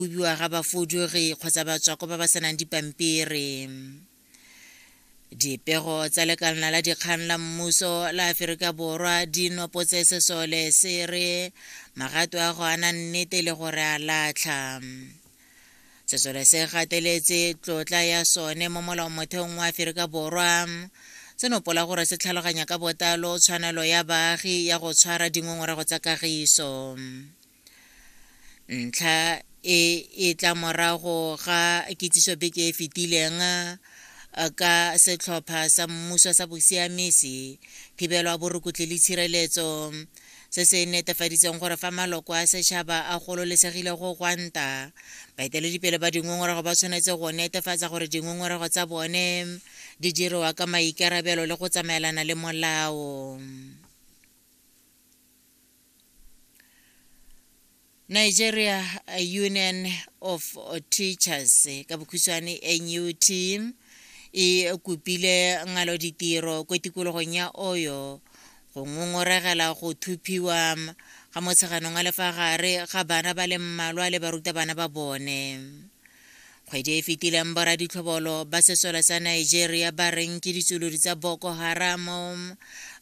Kobiwa ga bafudugi kgotsa batswakwa ba ba senang dipampiri. Dipego tsa lekalana la dikgang la mmuso la Aferika Borwa di nopotse sesole se re magato a go ana nnete le gore a latlha. Sesole se gateletse tlotla ya sone mo molaomotheong wa Aferika Borwa, se nopola gore se tlhaloganya ka botlalo tshwanelo ya baagi ya go tshwara dingongorego tsa kagiso. Ntlha e e tla morago ga kitsiso beke e fetileng ka setlhopha sa mmuso sa bosiamisi, thibelo ya borukutli le tshireletso, se se netefaditseng gore fa maloko a setšhaba a gololesegile go gwanta, baeteledipele ba dingongorego ba tshwanetse go netefatsa gore dingongorego tsa bone di diriwa ka maikarabelo le go tsamaelana le molao. Nigeria Union of Teachers ka bokhutshwane NUT e kopile ngalo ditiro ko tikologong ya Oyo go ngongoregela go thuphiwa ga motsheganong a le fa gare ga bana ba le mmalwa le barutabana ba bone. Kgwedi e e fetileng boraditlhobolo ba sesole sa Nigeria ba reng ke ditsulodi tsa Boko Haram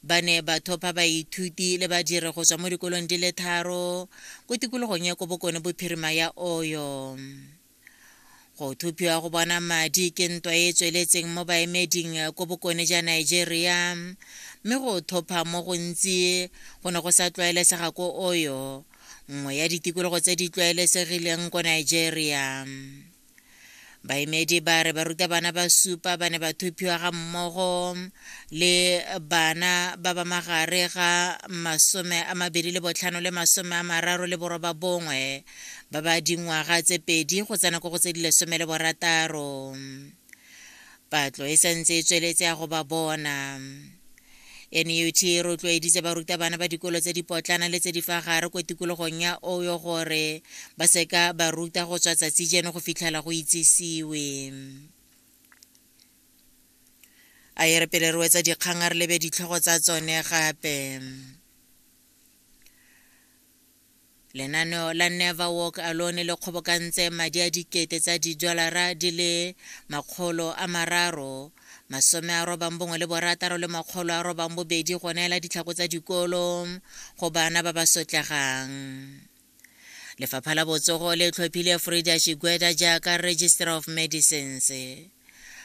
ba ne ba thopha baithuti le badiri go tswa mo dikolong di le tharo ko tikologong ya ko bokone bophirima ya Oyo. Go thophiwa go bona madi ke ntwa e e tsweletseng mo baemeding ko bokone ja Nigeria, mme go thopha mo gontsi go ne go sa tlwaelesega ko Oyo, nngwe ya ditikologo tse di tlwaelesegileng ko Nigeria. Baemedi ba re barutabana ba supa ba ne ba thophiwa ga mmogo le bana ba ba magare ga 25 le 39 ba ba dingwaga tse 2 go tsena ko go tse di 16. Patlo e santse e tsweletse ya go ba bona. NUT e rotloeditse barutabana ba dikolo tse dipotlana le tse di fa gare ko tikologong ya Oyo gore ba seka ba ruta go tswa tsatsi jeno go fitlhela go itsisiwe. A e re pele re wetsa dikgang a re lebe ditlhogo tsa tsone gape. Lenaneo la Never Walk Alone le kgobokantse madi a dikete tsa didolara di le 396 800 go neela ditlhako tsa dikolo go bana ba ba sotlegang. Lefapha la Botsogo le tlhophile Frida Shigweda jaaka Registrar of Medicines.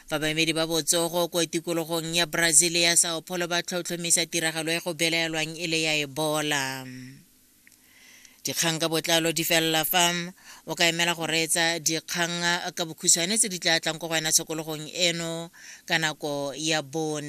Fa baemedi ba botsogo ko tikologong ya Brazil ya Sao Paulo ba tlhotlhomisa tiragalo e go belaelwang e le ya Ebola. Dikgang ka botlalo di felela fa o ka emela go reetsa dikgang ka bokhutshwane tse di tla tlang ko go wena tshokologong eno ka nako ya 4.